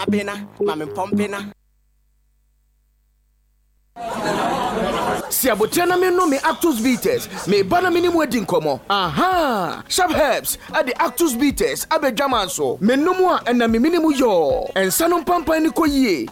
Abena, ma me mpɔmpena. Si aboterɛ na mennom me Actos Bitters, mereba na me ne mo adi nkɔmmɔ. Ahaa! Sharp Herbs de Actos Bitters aba adwaman so. Menom a, ɛnam me mene mu yɔɔ. Nsa no mpampan no kɔ yie.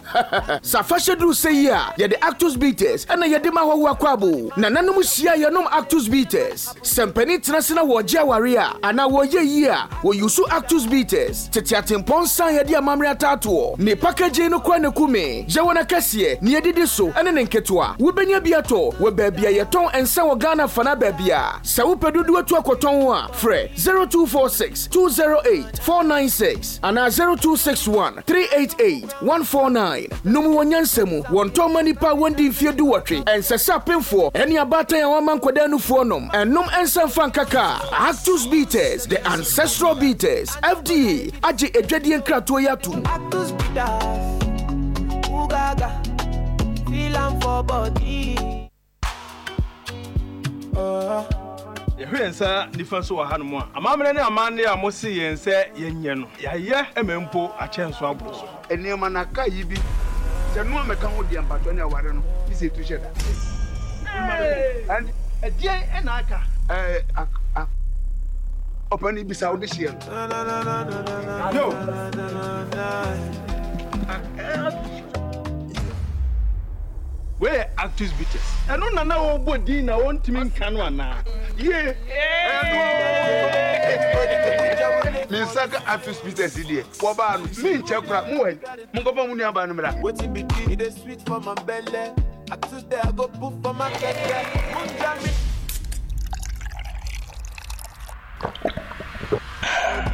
Sɛ afahyɛ duru sɛ yi a, yɛde Actos Bitters na yɛde ma ahɔhoɔ akwaabo. Nananom hyia a, yɛnom Actos Bitters. Sɛ mpanin tena ase na wɔregye aware a, anaa wɔreyɛ ayie a, wɔyusu Actus Bitters, tete atempɔn nsa a yɛde amammerɛ ataatoɔ. Ne packaging no koraa na ɛku me. Yɛwɔ no akɛseɛ, nea ɛdidi so, ne ne nketewa. Wobɛnya bi atɔ wɔ baabi a yɛtɔn nsa wɔ Ghana fanaa baabiara. Sɛ wopɛ dodoɔ atu akɔtɔn a, frɛ 0246 208 496 anaa 0261 388 149. Nom wɔ nyansa mu. Wɔntɔn mma nnipa a wɔndi mfeɛ duwɔtwe. Ɛnsɛ sɛ apemfoɔ ne abaatan a wɔama nkwadaa nufoɔ nom. Ɛnnom nsa mfa nka kaa. Actus Bitters, the ancestral bitters. FDA agye adwadie nkratoɔ yi atom. Actus bitters, ooh gaga, feel am for body. Yɛhwɛ yɛn nsa nifa so wɔ hanom a, amammerɛ ne amanneɛ a mose yɛn sɛ yɛnyɛ no, yɛayɛ ma mpo akyɛn so aboro so. Nneɛma no aka yi bi sɛ noa mɛka ho deɛ mpakyɛw ne aware no ne sɛ etu hyɛ da. Ɛdeɛn na aka? Ɛɛ ak ak ɔpanin bisa wo de hyeɛ no. Yo! Wei yɛ Actus Bitters. Ɛno na na ɔrebɔ din na ɔntumi nka no anaa? Yie! Ɛno Me nsa ka Actus Bitters yi deɛ, wɔbaa no, menkyɛ koraa. Mowɔ he? Monkɔfa mo nuabaa no mmra. Wetin be this? E dey sweet for my belle. I today I go put for my keke. Munja me.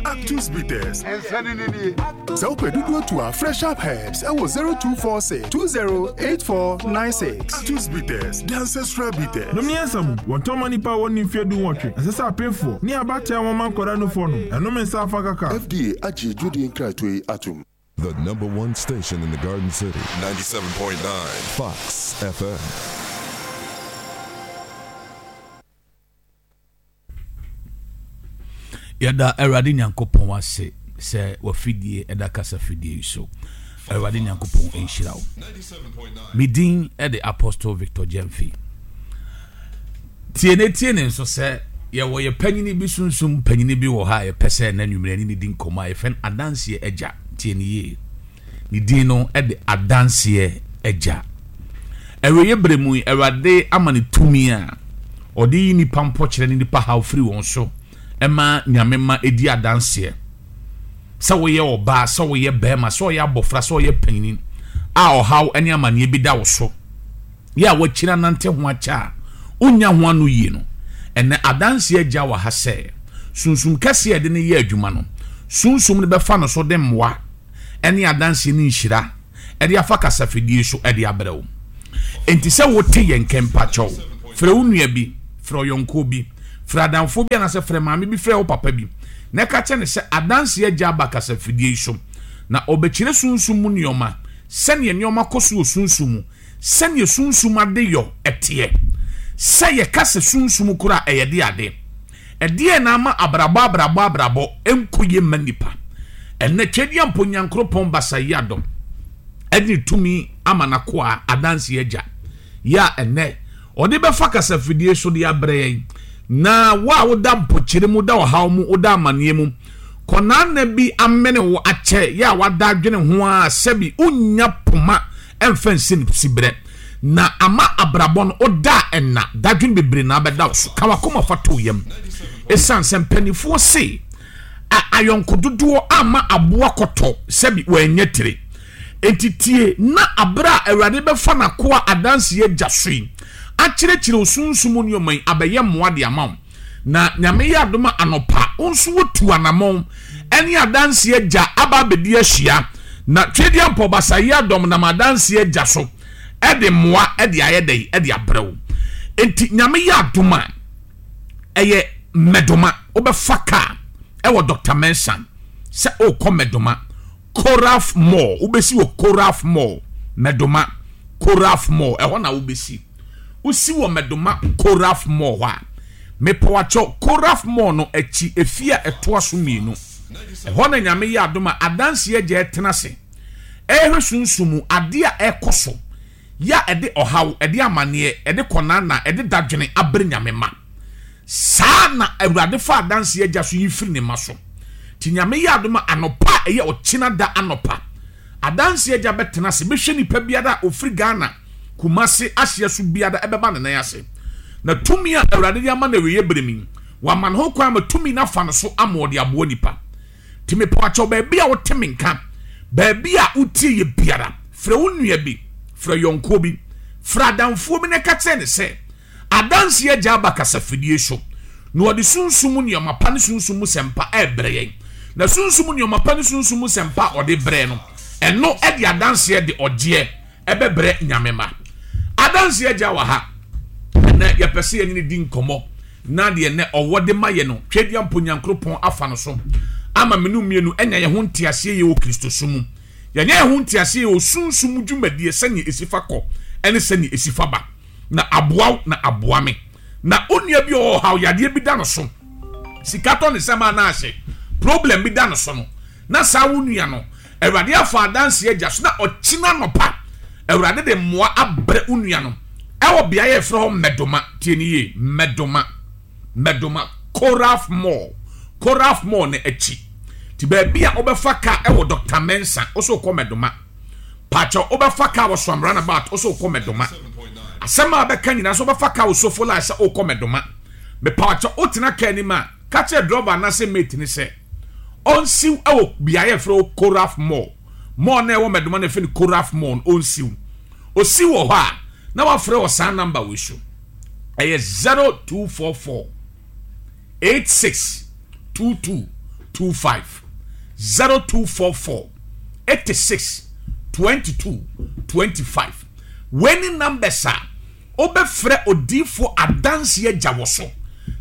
Actus Bitters. Nsa no ni nie. Sɛ wopɛ dodoɔ tu a, frɛ Sharp Herbs ɛwɔ 0246 208496. Actus Bitters, the ancestral bitters. Nom nyansa mu, wɔntɔn mma nnipa a wɔnni mfeɛ dunwɔtwe. Ɛnsɛ sɛ apemfoɔ, ne abaatan a wɔma nkwadaa nufoɔ nom. Ɛnom nsa afa kaka. FDA agye adwudie nkratoɔ yi atom. The number one station in the Garden City. 97.9 Fox FM. Yɛda Awurade Nyankopɔn ase sɛ wafidie ɛda kasa fidie yi so. Awurade Nyankopɔn nhyira wo. Me din de Apostle Victor Gyamfi. Tie ne tie ne nso sɛ yɛwɔ yɛ panyini bi sunsum panyini bi wɔ ha a yɛpɛ sɛ na nwummerɛ ne ne di nkɔmmɔ a yɛfɛ no adanseɛ agya. Tie ne yie. Ne din no de Adanseɛ Agya. Awieeɛ berɛ mu yi, Awurade ama no tumi a ɔde yi nnipa mpɔkyerɛ ne nnipa haw firi wɔn so ma Nyame mma ɛdi adanseɛ. Sɛ woyɛ ɔbaa, sɛ woyɛ barima, sɛ ɔyɛ abɔfra, sɛ ɔyɛ panin a ɔhaw ne amaneɛ bi da wo so, yɛ a wakyiri anante ho akyɛ a wonnya ho ano yie no, ɛnɛ adanseɛ agya wɔ ha sɛ sunsum kɛseɛ a ɛde no yɛ adwuma no, sunsum no bɛfa no so de mmoa ne adanseɛ ne nhyira de afa kasafidie so de abrɛ wo. Enti sɛ wote yɛn nka mpakyɛw, frɛ wo nua bi, frɛ ɔyɔnkoɔ bi, frɛ adamfoɔ bi anaasɛ frɛ maame bi, frɛ wo papa bi na ɛka kyerɛ no sɛ adanseɛ agya aba kasafidie yi so na ɔbɛkyerɛ sunsum mu nneɛma, sɛdeɛ nneɛma kɔ so wɔ sunsum mu, sɛdeɛ sunsum adeyɔ teɛ. Sɛ yɛka sɛ sunsum koraa a, ɛyɛ de ade. Ɛdeɛn na ama abrabɔ abrabɔ abrabɔ nkɔ yie mma nnipa? Ɛnnɛ Tweaduampɔ Nyankoropɔn Basayiadɔm de ne tumi ama n'akoa Adanseɛ Agya yi a ɛnnɛ ɔde bɛfa kasafidie so de abrɛ yɛn. Na wo a woda mpokyerɛ mu, woda ɔhaw mu, woda amaneɛ mu, kɔnaana bi amene wo akyɛ yɛ a wada adwene ho ara sɛbi wonnya poma mfa nsi no siberɛ. Na ama abrabɔ no woda a ɛnna, dadwene bebree na abɛda wo so. Ka w'akoma fa to wo yam. Esiane sɛ mpanimfoɔ se a ayɔnko dodoɔ amma aboa kɔtɔ sɛbi wannya tire. Enti tie na aberɛ a Awurade bɛfa n'akoa adanseɛ agya so yi akyerɛkyerɛ wo sunsum mu nneɛma yi abɛyɛ mmoa de ama wo. Na Nyame yɛ adom a anɔpa wo nso wotu anamɔn ɛne adanseɛ agya aba abɛdi ahyia. Na Twedeampɔ Basayi Adɔm nam adanseɛ agya so ɛde mmoa ɛde ayɛ dɛn ɛde abrɛ wo. Enti Nyame yɛ adom a ɛyɛ Mmɛdoma wobɛfa kaa ɛwɔ Doctor Mensah sɛ wokɔ Mmɛdoma Koraf Mall wobɛsi wɔ Koraf Mall Mmɛdoma Koraf Mall ɛhɔ na wobɛsi. Wosi wɔ Mmɛdoma Koraf Mall hɔ a mepɔwakyɛw Koraf Mall no akyi efie a ɛtoa so mmienu ɛhɔ na Nyame yɛ adom a adanseɛ agya ɛtena ase. Ɛrehwɛ sunsum mu adeɛ a ɛrekɔ so, yɛ a ɛde ɔhaw, ɛde amaneɛ, ɛde kɔnaana, ɛde dadwene abrɛ Nyame mma. Saa na Awurade fa adanseɛ agya so yi firi ne mma so. Nti Nyame yɛ adom a anɔpa a ɛyɛ ɔkyena da anɔpa, adanseɛ agya bɛtena ase bɛhwɛ nipa biara a ɔfiri Ghana, Kumasi ahyeɛ so biara ɛbɛba ne nan ase. Na tumi a Awurade de ama no awieɛ berɛ mu yi, wama no ho kwan ama tumi no afa no so ama ɔde aboa nipa. Nti mepaakyɛw baabi a wote me nka, baabi a wotie yɛ biara, frɛ wo nua bi, frɛ yɔnkoɔ bi, frɛ adamfoɔ bi na ka kyerɛ ne sɛ adanseɛ agya aba kasafidie so na ɔde sunsum mu nneɛma pa ne sunsum mu sɛmpa ɛrebrɛ yɛn. Na sunsum mu nneɛma pa ne sunsum mu sɛmpa a ɔde brɛ no, ɛno ɛde adanseɛ de ɔgyeɛ ɛbɛbrɛ Nyame ma. Adanseɛ agya wɔ ha. Ɛnɛ yɛpɛ sɛ yɛne no di nkɔmmɔ na deɛ nnɛ ɔwɔ de ma yɛ no, Tweaduampo Nyankoropɔn afa no so ama me no mmienu anya yɛn ho nteaseɛ yie wɔ Kristosom mu. Yɛanya yɛn ho nteaseɛ yie wɔ sunsum mu dwumadie sɛdeɛ ɛsi fa kɔ ne sɛdeɛ ɛsi fa ba. Na aboa wo na aboa me. Na onua bi a ɔwɔ ɔhaw, yadeɛ bi da no so, sika tɔ ne nsam a na ahye, problem bi da no so no, na saa wo nua no, Awurade afa adanseɛ agya so na ɔkyena anɔpa Awurade de mmoa abrɛ wo nua no ɛwɔ beaeɛ a yɛfrɛ hɔ Mmɛdoma. Tie ne yie, Mmɛdoma, Mmɛdoma, Koraf Mall, Koraf Mall no akyi. Ti baabi a wobɛfa kaa ɛwɔ Dr. Mensah, wo so wokɔ Mmɛdoma. Pakyɛ wobɛfa kaa wɔ Suam Runabout, wo so wokɔ Mmɛdoma. Asɛm a bɛka nyinaa so wobɛfa kaa wɔ Sofola sɛ wokɔ Mmɛdoma. Mepakyɛ wotena kaa anim a, ka kyerɛ drɔba anaasɛ mate no sɛ ɔnsiw wɔ beaeɛ a yɛfrɛ hɔ Koraf Mall. Mall no a ɛwɔ Mɛdoma no yɛfrɛ no Koraf Mall no, ɔnsiw. Ɔsiw wɔ hɔ a, na wafrɛ wɔ saa namba wei so. Ɛyɛ 0244 86 22 25. 0244 86 22 25. Wei ne numbers a Wobɛfrɛ odiyifoɔ adanseɛ agya wɔ so,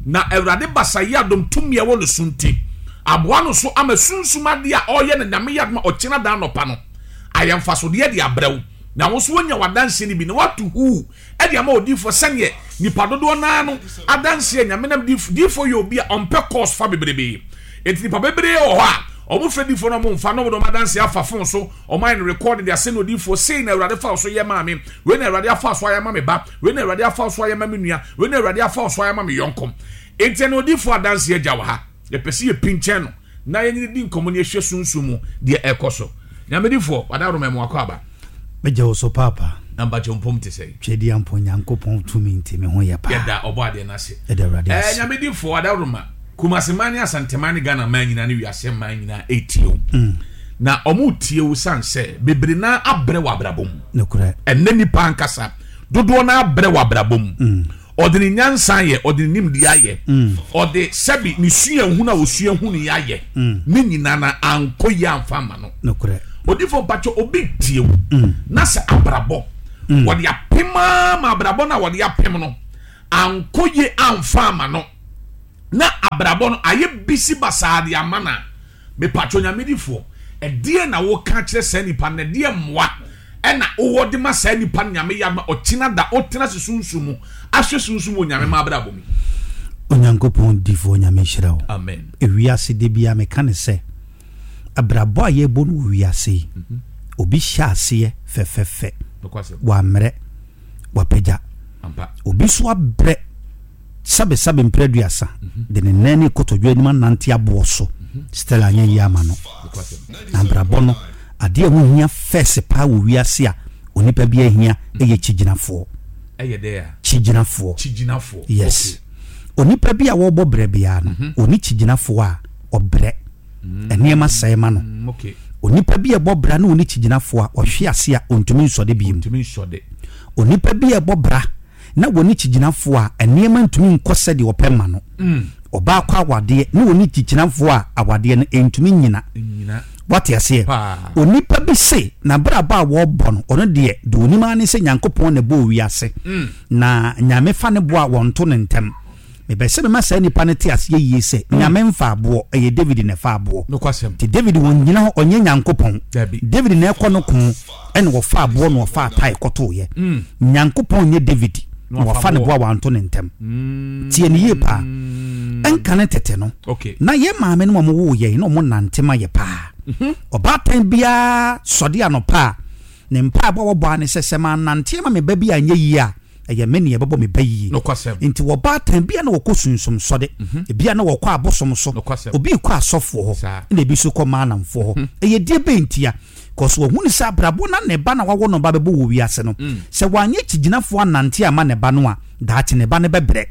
na Awurade basa yi adom tumi a ɛwɔ ne so nti, aboa no so ama sunsum adeɛ a ɔreyɛ no Nyame yɛ adom a ɔkyena da anɔpa no ayɛ mfasodeɛ de abrɛ wo, na wo nso woanya w'adanseɛ no bi na woato huu de ama odiyifoɔ sɛdeɛ nipa dodoɔ no ara no adanseɛ Nyame nam diyifoɔ diyifoɔ yɛ obi a ɔmpɛ course fa bebrebe enti nipa bebree wɔ hɔ a wɔfrɛ diyifoɔ no wɔn mfa na wɔde wɔn adanseɛ afa phone so Wɔn ayɛ no recording de asɛn odiyifoɔ, sei na Awurade fa wo so yɛ maa me, wei na Awurade afa so ayɛ ama me ba, wei na Awurade afa so ayɛ ama me nua, wei na Awurade afa so ayɛ ama me yɔnko. Enti ɛna odiyifoɔ adanseɛ agya wɔ ha. Yɛpɛ sɛ yɛpinkyɛn no na yɛne no di nkɔmmɔ na yɛhwɛ sunsum mu deɛ ɛrekɔ so. Nyamedifoɔ, Wadaworoma mu akɔ aba. Megye wo so paapa. Na mpakyɛ mpom te sɛn? Twedeampɔ Nyankopɔn tumi nti me ho yɛ paa. Yɛda Ɔbɔadeɛ no ase. Yɛda Awurade ase. Ɛɛ Nyamedifoɔ, Wadaworoma, Kumasi man ne Asanteman ne Ghana man nyinaa ne wiase man nyinaa ɛretie wo. Na wɔn retie wo san sɛ bebree naa abrɛ wɔ abrabɔ mu. Nokorɛ. Ɛnɛ nipa ankasa dodoɔ naa abrɛ wɔ abrabɔ mu. Ɔde ne nyansa ayɛ, ɔde ne nimdeɛ ayɛ, ɔde sɛbi ne suahunu a osua hunu yi ayɛ, ne nyinaa na ankɔ yie amfa ama no. Nokorɛ. Odifo mpakyɛ obi tie wo na sɛ abrabɔ wɔde apem ara ma abrabɔ no a wɔde apem no ankɔ yie amfa ama no na abrabɔ no ayɛ bisi basaa de ama no a, Mepatwɔ Nyamedifoɔ, ɛdeɛn na woka kyerɛ saa nipa no, na ɛdeɛn mmoa ɛna wowɔ de ma saa nipa no Nyame yɛ adom a ɔkyena da ɔtena ase sunsum mu ahwɛ sunsum wɔ Nyame ma abrabɔ mu. Onyankopɔn difoɔ Nyame nhyira wo. Amen. Ewiase da biara meka no sɛ abrabɔ a yɛbɔ no wɔ wiase yi obi hyɛ aseɛ fɛfɛfɛ wammrɛ wapagya obi nso abrɛ Sɛbesɛbe mprɛ aduasa de ne nan ne kotodwe anim anante aboɔ so. Stella anyɛ yie ama no. Na abrabɔ no, adeɛ a ɛho hia fɛs paa wɔ wiase a onipa biara hia yɛ kyigyinafoɔ. Ɛyɛ dɛ a? Kyigyinafoɔ. Kyigyinafoɔ. Yes. Onipa bi a wɔrebɔ brɛ biara no, ɔni kyigyinafoɔ a, ɔbrɛ. Nneɛma sɛe ma no. Onipa bi a ɛbɔ bra na ɔni kyigyinafoɔ a, ɔhwe ase a, ɔntumi nsɔde bio. Ɔntumi nsɔde. Onipa bi a ɛbɔ bra na wɔne kyigyinafoɔ a nneɛma ntumi nkɔ sɛdeɛ ɔpɛ mma no. Ɔbaa kɔ awadeɛ ne wɔne kyigyinafoɔ a awadeɛ no ɛntumi nnyina. Wate aseɛ? Onipa bi se n'abrabɔ a wɔrebɔ no, ɔno deɛ, deɛ ɔnim ara ne sɛ Nyankopɔn na ɛbɔɔ wiase, na Nyame fa ne boɔ a wɔnto no ntɛm. Mepɛ sɛ mema saa nipa no te aseɛ yie sɛ, Nyame mfa aboɔ, ɛyɛ David na ɛfa aboɔ. Nti David ɔnnyina hɔ, ɔnyɛ Nyankopɔn. David na ɛkɔ no ko, ɛna ɔfa aboɔ na ɔfa atae kɔtoeɛ. Nyankopɔn nyɛ David. na wafa ne bo a wanto ne ntɛm. Tie no yie paa. Ɛnkane tete no, na yɛn maame nom a wɔwoo yɛn na wɔnante ma yɛ paa. Ɔbaatan biara sɔde anɔpa a, ne mpaebɔ a wɔbɔ ara ne sɛ, sɛ mannante ama me ba bi anyɛ yie a, ɛyɛ me nea ɛbɛbɔ me ba yie. Nti wɔbaatan bi a na wɔkɔ sunsum sɔde, ebi a na wɔkɔ abosom so, obi rekɔ asɔfoɔ hɔ, ɛna ebi nso kɔ maalamfoɔ hɔ. Ɛyɛ deɛ bɛn ntia? Cause wahunu sɛ abrabɔ na ne ba na wawo no ba bɛbɔ wɔ wiase no, sɛ wanyɛ kyigyinafoɔ annante amma ne ba no a, daakye ne ba no bɛbrɛ.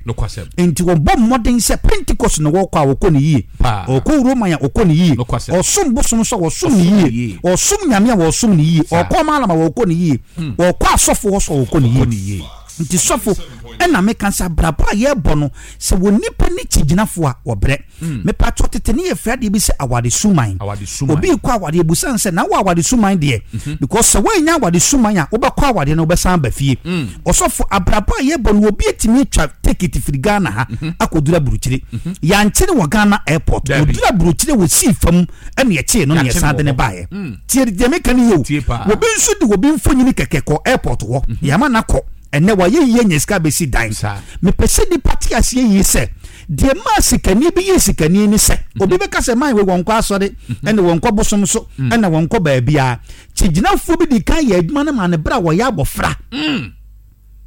Enti wɔbɔ mmɔden sɛ Pentecost na wɔkɔ a wɔkɔ no yie, ɔkɔ Roman a ɔkɔ no yie, ɔsom bosom nso a wɔsom no yie, ɔsom Nyame a wɔsom no yie, ɔkɔ Mallam a wɔkɔ no yie, ɔkɔ asɔfoɔ hɔ nso a wɔkɔ no yie. Nti sɔfo, ɛna meka sɛ abrabɔ a yɛrebɔ no, sɛ wɔ nipa ne kyigyinafoɔ a, wɔbrɛ. Mepakyɛw tete ne yɛfrɛ adeɛ bi sɛ awade suman. Obi rekɔ awadeɛ ebusa no sɛ na wo awade suman deɛ mhm. because sɛ woannya awade suman a wobɛkɔ awadeɛ no wobɛsan aba fie. Mm. Ɔsɔfo abrabɔ a yɛbɔ no obi atumi atwa tekiti firi Ghana ha mhm. akɔduru aburukyire. Mhm. Yɛankyere wɔ Ghana airport. Ɔduru aburukyire wɔ sii fam ɛne ɛkyee no ne yɛsan de ne baeɛ. Mm. Tie deɛ meka no yie o. Obi nso de obi mfonyini kɛkɛ kɔ airport hɔ. Yɛama no akɔ. Ɛnɛ wayɛ yie anya sika bɛsi dan. Mepɛ sɛ nipa te aseɛ yie sɛ Deɛ ɛmaa sikani bi yɛɛ sikani ne sɛ, obi bɛka sɛ man wei wɔnkɔ asɔre, ɛna wɔnkɔ bosom so, ɛna wɔnkɔ baabiara. Kyigyinafoɔ bi di kan yɛ adwuma no maa no berɛ a wɔyɛ abɔfra.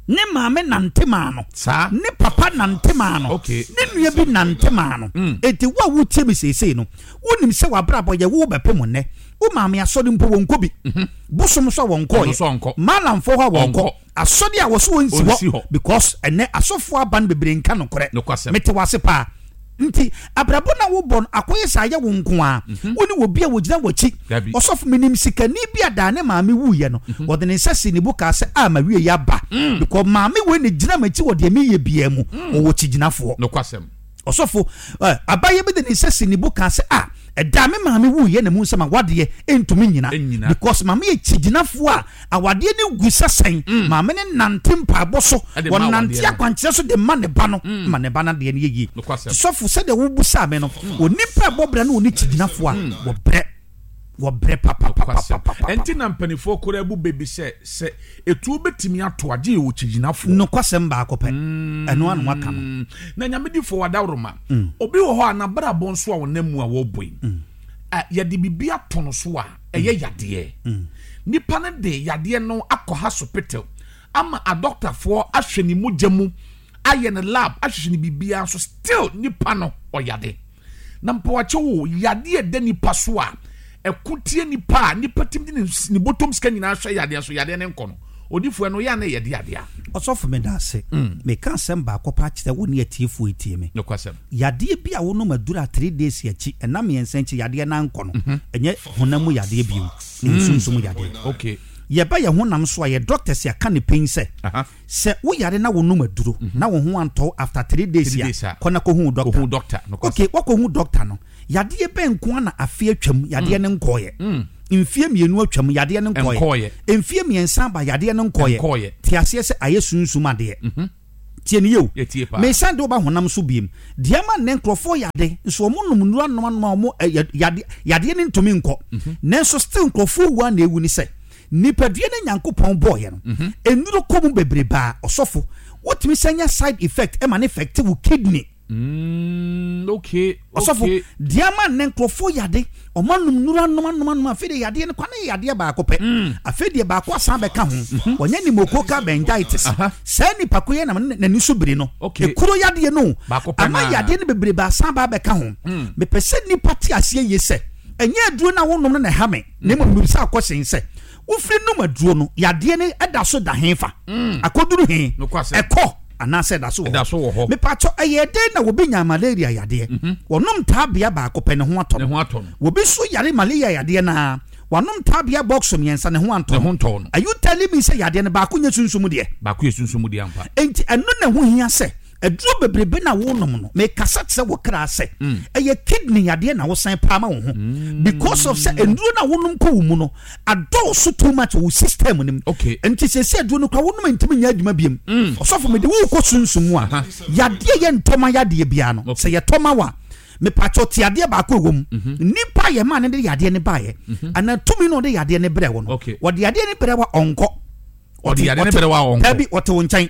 Ne maame nante maa no. Ne papa nante maa no. Ne nua bi nante maa no. Enti wo a wotie me seesei no, wonim sɛ w'abrabɔ yɛ wo bɛpem nnɛ. Wo maame asɔre mpo wɔnkɔ bi. Bosom so a wɔnkɔeɛ. Malamfoɔ hɔ a wɔnkɔ. Asɔre a wɔso wɔnsi Ɔnsi hɔ hɔ. because ɛnɛ asɔfoɔ aba no bebree nka nokorɛ. Nokwasɛm. Mete wo ase paa. Nti abrabɔ no a wobɔ no akɔyɛ sɛ ayɛ wo nko ara. Wo ne obi a wɔgyina w'akyi. Dabi. Ɔsɔfo menim sikani bi a daa ne maame wuiɛ no, ɔde ne nsa sii ne bo kaa sɛ ah m'awieɛ aba because maame wei na ɛgyina m'akyi wɔ deɛ meyɛ biara mu. Ɔwɔ kyigyinafoɔ. Nokwasɛm. Ɔsɔfo, eh, abayɛ bi de ne nsa si ne bo kaa sɛ, ah, ɛda a me maame wuiɛ na mehu sɛ m'awadeɛ ntumi nnyina. Nnyina. Because maame yɛ kyigyinafoɔ a awadeɛ no gu sɛ sɛn. Maame no nante mpaebɔ so, Ɛde ma ɔnante awadeɛ no. akwankyerɛ so de ma ne ba no, ma ne ba no adeɛ no yɛ yie. Nokwasɛm. Sɔfo, sɛdeɛ wobusaa me no, onipa a ɛbɔ bra ne ɔni kyigyinafoɔ a, wɔbrɛ. Wɔbrɛ papapapapapa. Ɛnti na mpaninfoɔ koraa bu bɛ bi sɛ, sɛ etuo bɛtumi ato a, gye yɛwɔ kyigyinafoɔ. Nokwasɛm baako pɛ, ɛno ara na wɔaka no. Na Nyame difoɔ wadaworoma, obi wɔ hɔ a n'abrabɔ nso a ɔnam mu a wɔrebɔ yi, yɛde biribi ato no so a, ɛyɛ yadeɛ. Nipa no de yadeɛ no akɔ hasopital ama adɔktafoɔ ahwɛ ne mogya mu, ayɛ no lab, ahwehwɛ no biribiara nso still nipa no ɔyade. Na mpawakyɛw o, yadeɛ a ɛda nipa so a ɛko tia nipa a nipa tumi de ne bɔtɔm sika nyinaa hwɛ yadeɛ so, yadeɛ no nkɔ no, odifoɔ ɛno yɛ a na ɛyɛ de adeɛ a. Ɔsɔfo meda ase. Meka asɛm baako pɛ akyerɛ wo ne atiefoɔ retie me. Nokwasɛm. Yadeɛ bi a wonom aduru a three days akyi, ɛna mmiɛnsa akyi yadeɛ no ankɔ no, ɛnyɛ honam mu yadeɛ bio, ɛyɛ sunsum yadeɛ. Okay. Yɛba yɛn honam so a, yɛ doctors yɛaka no pɛn sɛ, Sɛ wo yare na wo nom aduro na wo ho antɔ wo after three days a, kɔ na kɔ hu wo doctor. Ok, wakɔ hu doctor no, yadeɛ bɛn nko ara na afe atwam yadeɛ no nkɔɔyɛ? Mfie mmienu atwam yadeɛ no nkɔɔyɛ? Mfie mmiɛnsa aba yadeɛ no nkɔɔyɛ? Te aseɛ sɛ ayɛ sunsum adeɛ. Tie no yie o. Mesan de wo ba honam so biem. Deɛ ama nnɛ nkorɔfoɔ yade nso wɔn nom nnuro anom anom a wɔn yadeɛ yadeɛ no ntumi nkɔ. Nanso still nkorɔfoɔ wu ara na ɛwu ne sɛ Nipadua no Nyankopɔn bɔɔyɛ no, nnuro kɔ mu bebrebe a, ɔsɔfo, wotumi san nya side effect ma no effect wo kidney. Mm, okay, Ɔsɔfo, okay. deɛ ama nnɛ nkurɔfoɔ yade, wɔn anom nnuro anom anom anom, afei deɛ yadeɛ no kwa no yɛ yadeɛ baako pɛ. Afei deɛ baako asan bɛka ho, wɔnyɛ pneumococcal meningitis. Saa nipa ko yɛ na n'ani so biri no. Okay. Ekuro yadeɛ no, Baako pɛ ama naa. yadeɛ no bebrebe asan ba abɛka ho. Mepɛ sɛ nnipa te aseɛ yie sɛ, ɛnyɛ aduro no a wonom no na ɛha me. Na mmom mebisaa kɔsen sɛ, Wofiri nom aduro no, yadeɛ no da so da hefa? Akɔduru he? Ɛkɔ anaasɛ ɛda so wɔ hɔ? Mepakyɛ, ɛyɛɛ dɛn na obi nyaa malaria yadeɛ? Wɔnom taabea baako pɛ, ne ho atɔ no. Obi nso yare malaria yadeɛ no ara, wanom taabea bɔkso mmiɛnsa, ne ho antɔ no. Are you telling me sɛ yadeɛ no baako nyɛ sunsum deɛ? Enti ɛno na ɛho hia sɛ Aduro bebrebe no a wonom no, mekasa kyerɛ wo kra sɛ, ɛyɛ kidney yadeɛ na wosan paa ma wo ho. Because of sɛ nnuro no a wonom kɔ wo mu no, adɔɔso too much wɔ wo system no mu. Nti seesei aduro no koraa wonom a ɛntumi nyɛ adwuma biom. Ɔsɔfo, mede wo rekɔ sunsum mu a, yadeɛ yɛ ntɔma yadeɛ biara no, sɛ yɛtɔ ma wo a, mepakyɛw te adeɛ baako a ɛwɔ mu. Nnipa a yɛmaa no de yadeɛ no baeɛ, anaa tumi no a ɔde yadeɛ no brɛɛ wo no, ɔde yadeɛ no brɛ wo a, ɔnkɔ. Ɔde yadeɛ no brɛ wo a, ɔnkɔ. Dabi, ɔte wo nkyɛn.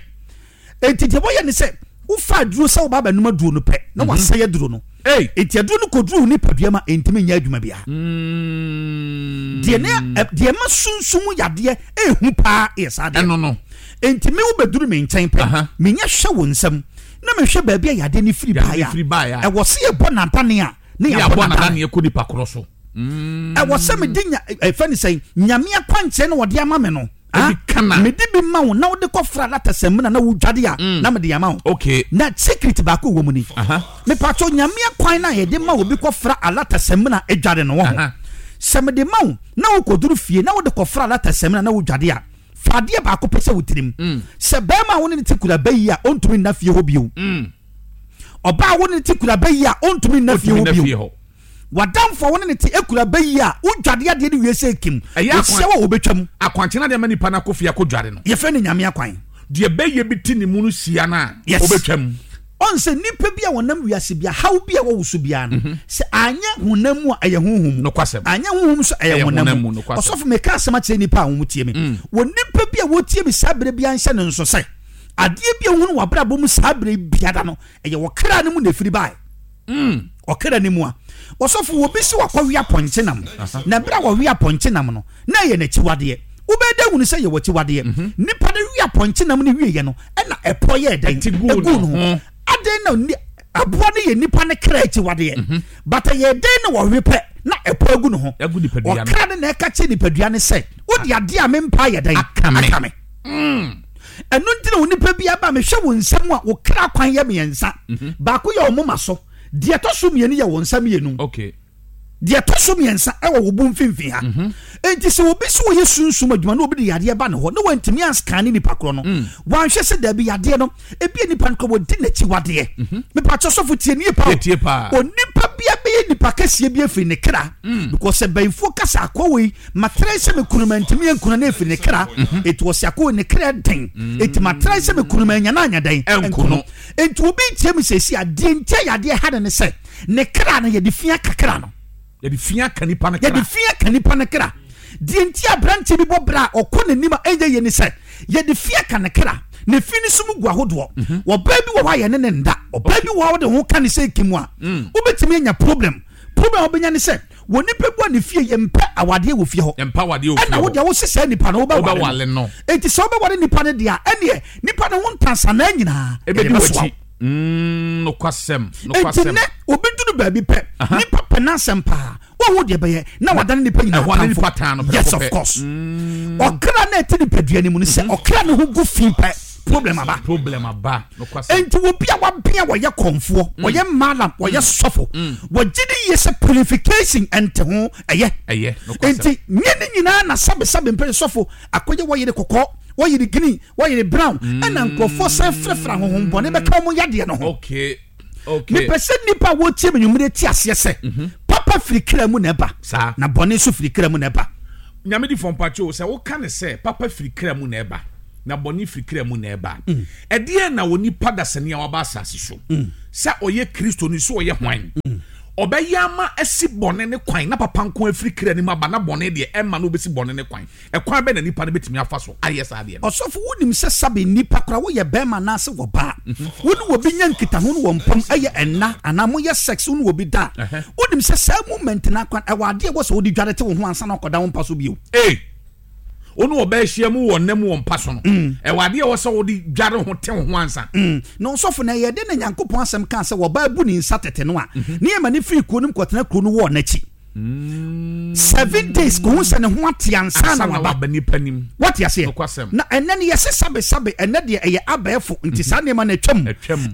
Enti deɛ wɔyɛ ne sɛ wofa aduro sɛ woba abɛnom aduro no pɛ na mhm. wasɛe aduro no. Enti aduro no kɔduru wo nipadua ma ɛntumi nyɛ adwuma biara. Mm. Deɛ ne deɛ ma sunsum yadeɛ ɛhu paa yɛ saa deɛ. Ɛno no. Enti me wobɛduru me nkyɛn pɛ menyɛ hwɛ wo nsam na mehwɛ baabi a yadeɛ no firi baeɛ a ɛwɔ sɛ yɛbɔ nadane a ne yɛabɔ nadane kɔ nipa korɔ so. Ɛwɔ sɛ mede nya ɛfɛ ne sɛn nyame akwankyerɛ na wɔde ama me no. Ah, mede bi ma wo na wode kɔfra lata samina na wodwade a mm. na mede ama wo. Okay. Na secret baako wɔ mu ni. Mepatɔ nyame kwan na yɛde ma obi kɔfra alata samina adware no wɔ ho. Sɛ mede ma wo na wokɔduru fie na wode kɔfra alata samina na wodwade a, fa adeɛ baako pɛ sɛ wo tirim. Mm. Sɛ bɛrima a wo ne ne te kura bɛyi a ɔntumi nna fie hɔ bio. Mm. Ɔbaa a wo ne ne te kura bɛyi a ɔntumi nna fie hɔ bio. W'adamfo a wo ne no te akura bɛ yi a wodwade adeɛ no wie sɛ kim, wɔhyia wo a wɔbɛtwam. Akwankyerɛ adeɛ ma nipa no akɔ fie akɔdware no. Yɛfrɛ no Nyame akwan. Deɛ bɛyɛ bi te ne mu no hyia no a, ɔbɛtwam. Ɔn sɛ nipa bi a ɔnam wiase bia, haw bi a ɛwɔ wo so biara no, mhm. sɛ anyɛ honam mu a ɛyɛ honhom mu. Nokwasɛm. Anyɛ honhom so ɛyɛ honam mu. Ɔsɔfo meka asɛm akyerɛ nipa a wɔn tie me. Mm. Wɔ nipa bi a wɔtie me saa berɛ biara nhyɛ no nso sɛ adeɛ bi a wohunu wɔ abrabɔ mu saa berɛ biara no ɛyɛ wɔ kra no mu na ɛfiri bae. Mm. Ɔkra no mu a. Ɔsɔfo, obi se wakɔwe apɔnkye nam, na bere a wɔwe apɔnkye nam no, na ɛyɛ n'akyiwadeɛ. Wobɛyɛ dɛn ahunu sɛ ɛyɛ w'akyiwadeɛ? Mhm. Nipa no we apɔnkye nam no wieɛ no, ɛna ɛpɔ yɛɛ dɛn? Ɛguu ne ho. Adɛn na aboa no yɛ nipa no kra akyiwadeɛ? Mhm. But ɛyɛ dɛn na wɔwe pɛ na ɛpɔ agu ne ho? Ɔkra no na ɛka kyerɛ nipadua no sɛ, wode adeɛ a mempɛ ayɛ dɛn? Aka me. Mm. Ɛno nti na onipa bi aba mehwɛ wo nsam a wo kra kwan yɛ mmiɛnsa. Mhm. Baako yɛ ɔmoma so. Deɛ ɛtɔ so mmienu yɛ wo nsa mmienu. Okay. Deɛ ɛtɔ so mmiɛnsa ɛwɔ wo bo mfimfini ha. Mhm. Enti sɛ obi sɛ ɔyɛ sunsum adwuma na obi de yadeɛ ba ne hɔ na wantumi anscan nipa korɔ no, mm. wanhwɛ sɛ daabi yadeɛ no ebi nipa no korɔ wɔdi n'akyi wadeɛ. Mhm. Mepakyɛ sɔfo tie nie pa o. Onipa bi abɛyɛ nipa kɛseɛ bi afiri ne kra. Mm. Because sɛ bɛnfoɔ kasa akɔ wei Matrae sɛ me kunu mantumi ankunu na ɛfiri ne kra mhm. Enti ɔse akɔ ne kra den mm. Enti matrae sɛ me kunu manya no anya dɛn ɛnkono Enti obi ntie me sɛsi a deɛ nti a yadeɛ ha no ne sɛ ne kra no yɛde fi aka kra no yɛde fi aka nipa no kra yɛde fi aka nipa no kra deɛ nti aberanteɛ bi bɔ bra a ɔkɔ n'anim a ɛnyɛ yɛ ne sɛ yɛde fi aka ne kra ne fi no so mu gu ahodoɔ mhm. ɔbaa bi wɔ hɔ a yɛne ne nda ɔbaa bi wɔ hɔ a wode ho ka ne sɛ kim a mm. wobɛtumi anya problem problem a wobɛnya ne sɛ Wɔ nipa bu a ne fie yɛ mpɛ awadeɛ wɔ fie hɔ. Yɛ mpɛ awadeɛ wɔ fie hɔ. Ɛna wo deɛ wo se saa nipa no wobɛware no. Enti sɛ wobɛware nipa no deɛ a, ɛneɛ nipa no ho ntansanaa nyinaa ɛbɛdi w'akyi. Mm, nokwasɛm, nokwasɛm. Enti nɛ obi duru baabi pɛ, nipa pɛ n'asɛm paa, wɔn deɛ bɛyɛ na wadane nipa nyinaa atamfo. Yes, of course. Mm. Ɔkra na ɛte nipadua no mu no sɛ mm-hmm. ɔkra no ho gu fi pɛ, problem aba. Problem aba. Enti obi a wabea wɔyɛ kɔnfoɔ, mm. wɔyɛ malam, wɔyɛ mm. sɔfo, mm. wɔgye ne yie sɛ purification ɛnte ho ɛyɛ. Ɛyɛ. Enti nye ne nyinaa na sɛbesɛbe mpere sɔfo akɔyɛ wɔyere kɔkɔɔ, wɔyere green, wɔyere brown, ɛna nkurɔfoɔ san frɛfrɛ ahohombɔne bɛka wɔn yadeɛ no ho. Okay. Okay. Mepɛ sɛ nnipa a wɔtie me nwumere te aseɛ sɛ mhm. papa firi kra mu na ɛba na bɔne nso firi kra mu na ɛba. Nyame di fɔ mpakyɛ o sɛ woka ne sɛ papa firi kra mu na ɛba na bɔne firi kra mu na ɛba. Mm. Ɛdeɛn na onipa dasani a waba asase so, mm. sɛ ɔyɛ Kristoni, sɛ ɔyɛ hwan, mm. ɔbɛyɛ ama asi bɔne ne kwan na papa nko afiri kra no mu aba na bɔne deɛ ɛmma no wobɛsi bɔne ne kwan? Ɛkwan bɛn na nipa no bɛtumi afa so ayɛ saa adeɛ no? Ɔsɔfo, wonim sɛ sabe nnipa koraa woyɛ bɛrima anaase wɔbaa, mhm. wo ne obi nya nkitaho no wɔ mpam ɛyɛ ɛnna anaa moyɛ sex wo ne obi da a, wonim sɛ saa moment no akwan ɛwɔ adeɛ wɔ sɛ wode dware te wo ho ansa na ɔkɔda wo mpa so bio. Ee! Wo ne ɔbaa ahyia mu wɔ nna mu wɔ mpa so no, mm. ɛwɔ adeɛ ɛwɔ sɛ wode dware ho te wo ho ansa. Mm. Na ɔsɔfo na ɛyɛ dɛ na Nyankopɔn asɛm kaa sɛ wɔbaa bu ne nsa tete no a, mhm. ne yɛma ne firi kuro no mu kɔtena kuro no wɔ n'akyi. Mm. Seven days kò ho sɛ ne ho ate ansa na waba. Nipa nim. Wate aseɛ. Na ɛnɛ no yɛse sabe sabe ɛnɛ deɛ ɛyɛ abɛɛfo nti saa nneɛma no atwam.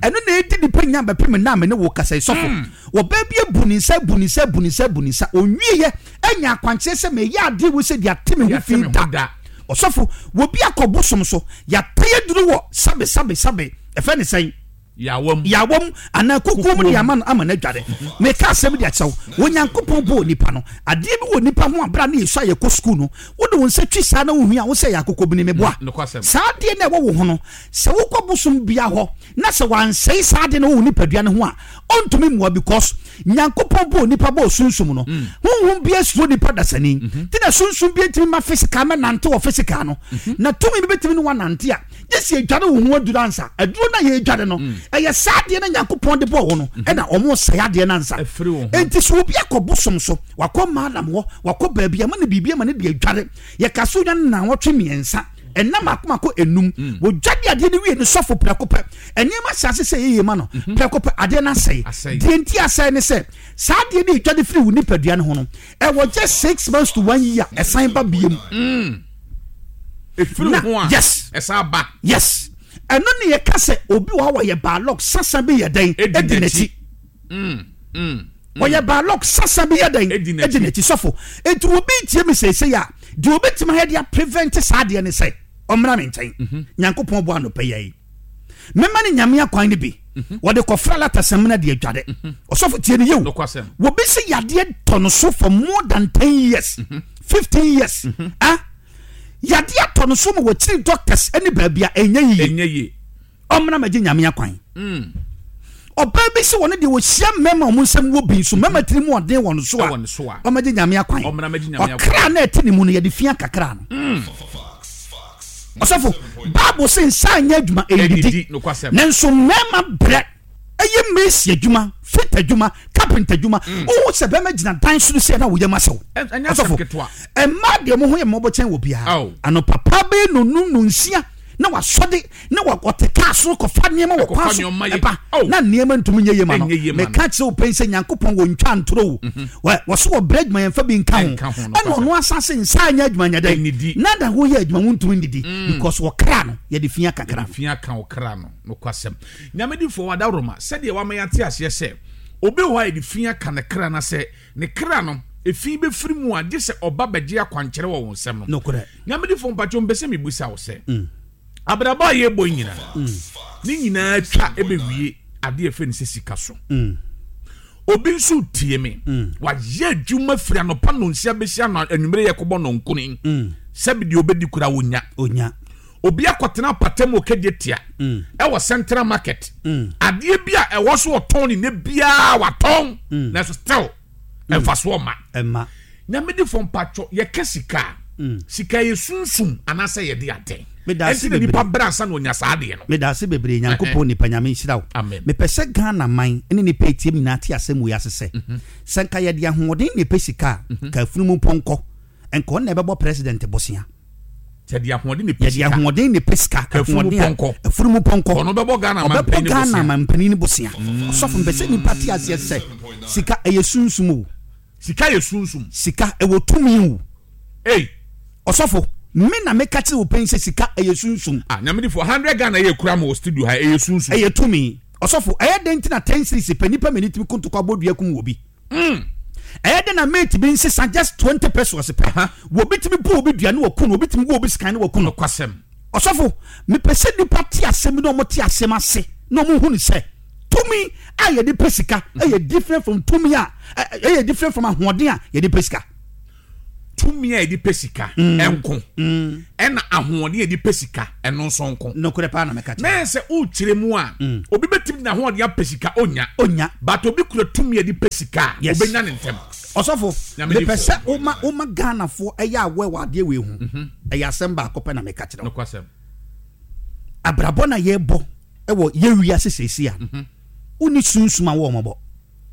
Ɛno na ɛdi nipa nya bɛpem nna a me ne wo kasa yi sɔfo. Mm. Wɔbaa bi abu ne nsa abu ne nsa abu ne nsa abu ne nsa onwieɛ anya akwankyerɛ sɛ meyɛ adeɛ wei sɛ deɛ ate me ho fi da. Ɔsɔfo, wɔbi akɔ bosom so, yɛatɛ aduru wɔ sabe sabe sabe, ɛfɛ ne sɛn? Yawam. Yawam anaa kukuo mu de ama no ama no adware. Meka asɛm de akyerɛ wo, Onyankopɔn bɔɔ nipa no, adeɛ bi wɔ nipa ho a berɛ a ne yɛsua a yɛkɔ sukuu no, wode wo nsa twi saa na wohui a wo sɛ ɛyɛ akokɔbini, meboa. Saa adeɛ no a ɛwɔ wo ho no, sɛ wokɔ bosom bia hɔ na sɛ wansɛe saa adeɛ no wɔ wo nipadua no ho a, ɔntumi mmoa because. Nyankopɔn bɔɔ nipa bɔɔ sunsum no, Mm. honhom biara suro nipa dasani. Mm-hmm. Nti na sunsum biara ntumi ma physical mɛnante wɔ physical no. Mm-hmm. Na tumi bi bɛtumi ne wanante a, gye sɛ yɛdware wo ho aduro ansa. Aduro no a yɛdware no, Mm. ɛyɛ saa adeɛ no Nyankopɔn de bɔɔ wo no, Mm-hmm. ɛna ɔmo sɛe adeɛ no ansa. Ɛfiri wo ho. Enti sɛ obi akɔ bosom so, wakɔ maalam hɔ, wakɔ baabi ama no biribi ama no de adware, yɛka so nya no nnawɔtwe mmiɛnsa, ɛnna mako mako enum, Mm. wɔdware adeɛ no wie no sɔfo prɛko pɛ, nneɛma hyɛ ase sɛ yɛyɛ ma no Mhm. prɛko pɛ adeɛ no asɛe deɛ nti asɛe ne sɛ saa adeɛ no ɛtwa de firi wo nipadua no ho no ɛwɔ just six months to one year ɛsan ba biem mm. ɛfiri ho a yes ɛsan ba yes ɛno ne yɛka sɛ obi wɔ hɔ wɔyɛ baalɔk sasa bi yɛ dɛn ɛdi n'akyi mm, mm, wɔyɛ baalɔk sasa bi yɛ dɛn ɛdi n'akyi sɔfo eti obi tie mi sɛsɛ a deɛ obetumi ayɛ de aprevent saa adeɛ ne sɛ ɔmmra me nkyɛn mhm. nyankopɔn bɔ anɔpɛ yɛ yi mɛma no nyame akwan no bi mhm. wɔde kɔfra lata samina de adware mhm. ɔsɔfo tie no yɛo wɔbi sɛ yadeɛ tɔ no so for more than 10 years 15 mhm. years ah yadeɛ atɔ no so ma wɔkyiri doctors ne baabi a ɛnyɛ yie ɔmmra magye nyame akwan mm. ɔbaa bi sɛ wɔne deɛ wɔhyia mmarima wɔn nsɛm wɔ bi nso mmarima tiri mu ɔden wɔn so a ɔmɛgye nyame akwan ɔkra na ɛte ne mu no yɛde fia kakra no mm. Ɔsɔfo, Bible se nsa anyɛ adwuma, ɛnnidi. Nanso mmarima brɛ ɛyɛ mason adwuma, fit adwuma, carpenter adwuma. Mm. Wohu sɛ bɛrima gyina dan soro sɛ na woyam asɛw. Ɔsɔfo, mmaa deɛ mo ho yɛ mmɔbɔ kyɛn wɔ biara. Anɔpa paa bɛyɛ nonum nonsia na wasɔde na wɔte kaa soro kɔfa nneɛma wɔ kwan so ɛba na nneɛma ntumi nyɛ yie ma no meka kyerɛ wo pɛn sɛ nyankopɔn wɔntwa ntoro wo mhm. wɔso wɔbrɛ adwuma yɛmfa bi nka ho ɛna ɔno asase nsa anyɛ adwuma nyɛ dɛn na da woyɛ adwuma wontumi nnidi mm. because wɔkra no yɛde fia kakra fia ka wo kra no nokwasɛm nyamedifoɔ wadaworoma sɛdeɛ wama yɛate aseɛ sɛ obi wɔ hɔ a yɛde fia ka ne kra no sɛ ne kra no efi bɛfiri mu a gye sɛ ɔba bɛgye akwankyerɛ wɔ wo nsɛm no nyamedifoɔ mpatwɔ mpɛ sɛ mebusa wo sɛ mm. Abrabɔ a yɛbɔ yi nyinaa, ne nyinaa twa ɛbɛwie adeɛ ɛfɛ ne sɛ sika so. Mm. Obi nso tie me, wayɛ adwuma firi anɔpa nonsia bɛsi ano anwummere yɛ kɔbɔ nɔnkoni. Sɛbi deɛ obɛdi kura wonya. Onya. Obi akɔtena apata mu ɔkɛgye tia ɛwɔ Central Market. Adeɛ bi a ɛwɔ so ɔtɔn ne ne biara watɔn. Nanso still mfasoɔ mma. Ɛmma. Nyamedifo mpatsɔ yɛka sika a, mm. sika yɛ sunsum anaasɛ yɛde atɛn. Medase Ɛnti na nipa brɛ ansa na onya saa adeɛ no. Medase bebree Nyankopɔn nipa Nyame nhyira wo. Amen. Mepɛ sɛ Ghana man ne nipa etie mu nyinaa te asɛm wei ase sɛ, mhm. sɛ nka yɛde ahoɔden na ɛpɛ sika a, mhm. ka afunumu pɔnkɔ nka ɔno na ɛbɛbɔ president bosea. Yɛde ahoɔden na ɛpɛ sika. Yɛde ahoɔden na ɛpɛ sika. Afunumu pɔnkɔ. Afunumu pɔnkɔ. Ɔno bɛbɔ Ghana mampanin Ɔbɛbɔ Ghana mampanin ne bosea. Mm. Ɔsɔfo mpɛ sɛ nipa te aseɛ sɛ sika ɛyɛ sunsum o. Sika yɛ sunsum. Sika ɛwɔ tumi o. Ei. Ɔsɔfo, me na meka kyerɛ wo pɛn sɛ sika ɛyɛ sunsum. Ah, Nyamedifo, 100 Ghana yɛ kura mo wɔ studio ha, ɛyɛ sunsum. Ɛyɛ tumi. Ɔsɔfo, ɛyɛ dɛn nti na 10 cedis pɛ nipa mmienu tumi ko ntɔkwa bɔ dua kum wɔ bi? Mm. Ɛyɛ dɛn na mate bi nsesa just 20 pesos pɛ? Wɔbi tumi bu obi dua ne wɔku no, obi tumi wu obi sekan ne wɔku no. Nokwasɛm. Ɔsɔfo, mepɛ sɛ nipa te asɛm bi na wɔn te asɛm ase na wɔn hu no sɛ tumi a yɛde pɛ sika ɛyɛ different from tumi a ɛyɛ different from ahoɔden a yɛde pɛ sika. Tumi a yɛde pɛ sika mm. ɛnko mm. ɛna ahoɔden a yɛde pɛ sika ɛno nso nko. Nokorɛ paa na mɛka kyerɛ. Mɛyɛ sɛ wokyerɛ mu a mm. obi bɛtumi de n'ahoɔden apɛ sika onya. Onya. But obi kura tumi a yɛde pɛ sika a yes. obɛnya ne ntɛm. Ɔsɔfo, mepɛ sɛ woma woma Ghanafoɔ ɛyɛ awɛ wɔ adeɛ wei ho. Mhm. Ɛyɛ asɛm baako pɛ na meka kyerɛ wo. Nokwasɛm. Abrabɔ na yɛbɔ ɛwɔ yɛ wiase seesei a. Mhm. Wonni sunsum a wɔmmɔbɔ.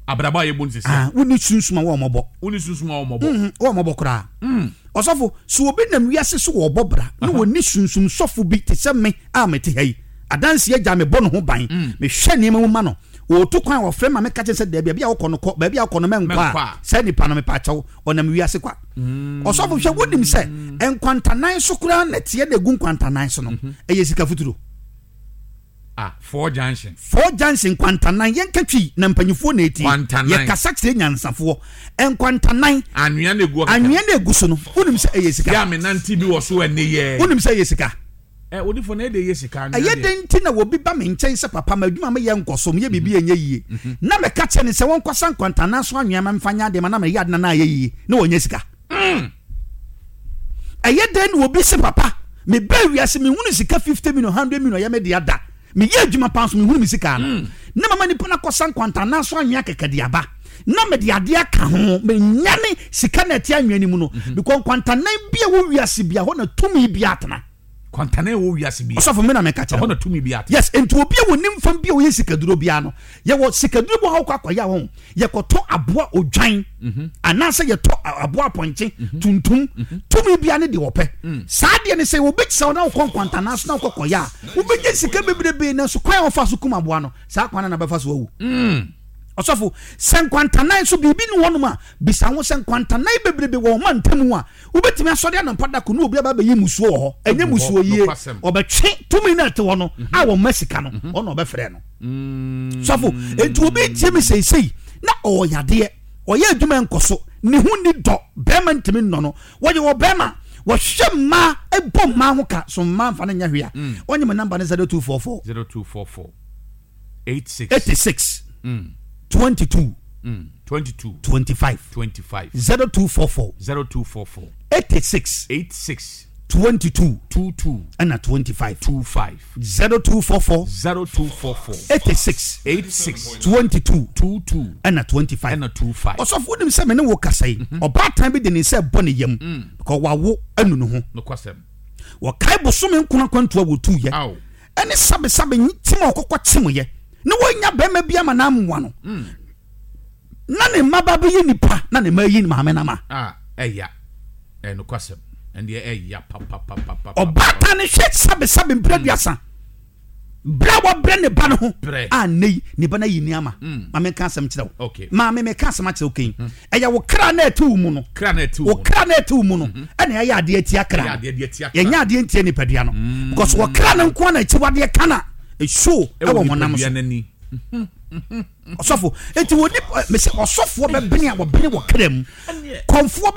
Abrabɔ a yɛbɔ no seesei. Ah, wonni sunsum a wɔmmɔbɔ. Wonni sunsum a wɔmmɔbɔ. Mhm, wɔmmɔbɔ koraa. Mm. Ɔsɔfo, sɛ obi nam wiase so wɔbɔ bra na wɔnni sunsum sɔfo bi te sɛ me a mete ha yi, adanse agya mebɔ ne ho ban, mm. mehwɛ nneɛma mu ma no, wɔtu kwan a wɔfrɛ ma meka kyerɛ sɛ daabi, baabi a wokɔ no kɔ, baabi a wokɔ no mɛnkɔ a, saa nipa no mepa kyɛw, ɔnam wiase kwa. Mm. Ɔsɔfo hwɛ, wonim sɛ nkwantanan so koraa na ɛteɛ na egu nkwantanan so no, mhm. ɛyɛ sika futuro. Ah, four junction. Four junction nkwantanan yɛnka twi na mpanyinfoɔ na etie. Nkwantanan. Yɛkasa kyerɛ nyansafoɔ. Nkwantanan. Anwea na egu ɔkɛkɛ. Anwea na egu so no, wonim sɛ ɛyɛ sika. Yɛ a me nante bi wɔ so ɛnne yɛ. Wonim sɛ ɛyɛ sika. Ɛ odifo na ɛde yɛ sika anwea Ɛyɛ deɛ. dɛn nti na obi ba me nkyɛn sɛ papa m'adwuma meyɛ nkɔ so, meyɛ biribi a ɛnyɛ yie, na mɛka kyerɛ no sɛ wɔnkɔsa nkwantanan so anwea ma memfa nyɛ adeɛ ma na meyɛ ade na na ayɛ yie na wɔnyɛ sika? Ɛyɛ dɛn na obi se papa mebaa wiase menhunu sika 50 million 100 million ɛyɛ me dea da meyɛ adwuma paa nso menhunu me sika ano mm. na mama nipa no akɔsa nkwanta anaso anwea kɛkɛ de aba. na mede adeɛ aka ho, menyane sika na ɛte anwea no mu no, because nkwantanan bi a ɛwɔ wiase bia hɔ na tumi bi atena. Kwantanan ɛwɔ wiase bia. Ɔsɔfo me na meka kyerɛ. Ɛhɔ na tumi bi atena. Yes, nti obi a wɔnim fam bi a ɔyɛ sikaduro biara no, yɛwɔ sikaduro bi wɔ hɔ kɔ akɔyɛ ho, yɛkɔtɔ aboa odwan anaasɛ yɛtɔ aboa apɔnkye tuntum, tumi bia ne deɛ ɔpɛ. Saa deɛ no sɛ obi kyerɛ wo na wokɔ nkwantanan so na wokɔ kɔyɛ a, wobɛnya sika bebrebe, nanso kwan a wɔfa so kum aboa no, saa kwan no na bɛfa so awu. Ɔsɔfo, sɛ nkwantanan so biribi ni hɔnom a, bisa ho sɛ nkwantanan bebrebe wɔ ɔma ntamu a, wobɛtumi asɔre anɔpa da ko ne obi aba abɛyi musuo wɔ hɔ. Ɛnyɛ musuo yie. Ɔbɛtwe tumi no a ɛte hɔ no a wɔma sika no, ɔna ɔbɛfrɛ no. Sɔfo, enti obi tie me seisei na ɔwɔ yadeɛ, ɔyɛ adwuma nkɔ so, ne ho nni dɔ, bɛrima ntumi nnɔ no, wɔyɛ ɔbɛrima, wɔhwɛ mmaa, ɛbɔ mmaa ho ka, so mmaa mfa no nyɛ hwee a, ɔnye me namba no 0244. 0244. 86. 86. 22. 22. 25. 25. 0244. 0244. 86. 86. 22. 22. Ɛna 25. 25. 0244. 0244. 86. 86. 22. 22. Ɛna 25. Ɛna 25. Ɔsɔfo wonim sɛ me ne wo kasa yi, ɔbaatan bi de ne nsa ɛbɔ ne yam. Because wawo anu ne ho. Nokwasɛm. Wɔkae bosome nkono akwantu a wɔtuiɛ. Ɛne sabesabe kyim a ɔkɔkɔ kyimyɛ na wɔnya bɛrima bi ama n'amoa no na ne mma ba bɛyɛ nipa na ne mma ayi maame no ama. Ɛya ɛnokwasɛm ɛndeɛ ɛya papapapapa. Ɔbaatan no hwɛ sabesabe mprɛ aduasa berɛ a wabrɛ ne ba no ho a nnɛ yi ne ba no ayi ne ama. Ma menka asɛm kyerɛ wo. Maame meka asɛm akyerɛ wo kɛn. Ɛyɛ wo kra na ɛte wo mu no. Wo kra na ɛte wo mu no ɛna ɛyɛ adeɛ atia kra no. Yɛnyɛ adeɛ ntia nipadua no. Because wɔ kra no nko na akyiwadeɛ ka na ɛsuo ɛwɔ honam so. Ɔsɔfo, eti wɔ nipa mese ɔsɔfoɔ bɛbene a wɔbene wɔ kra mu. Kɔmfoɔ bɛ.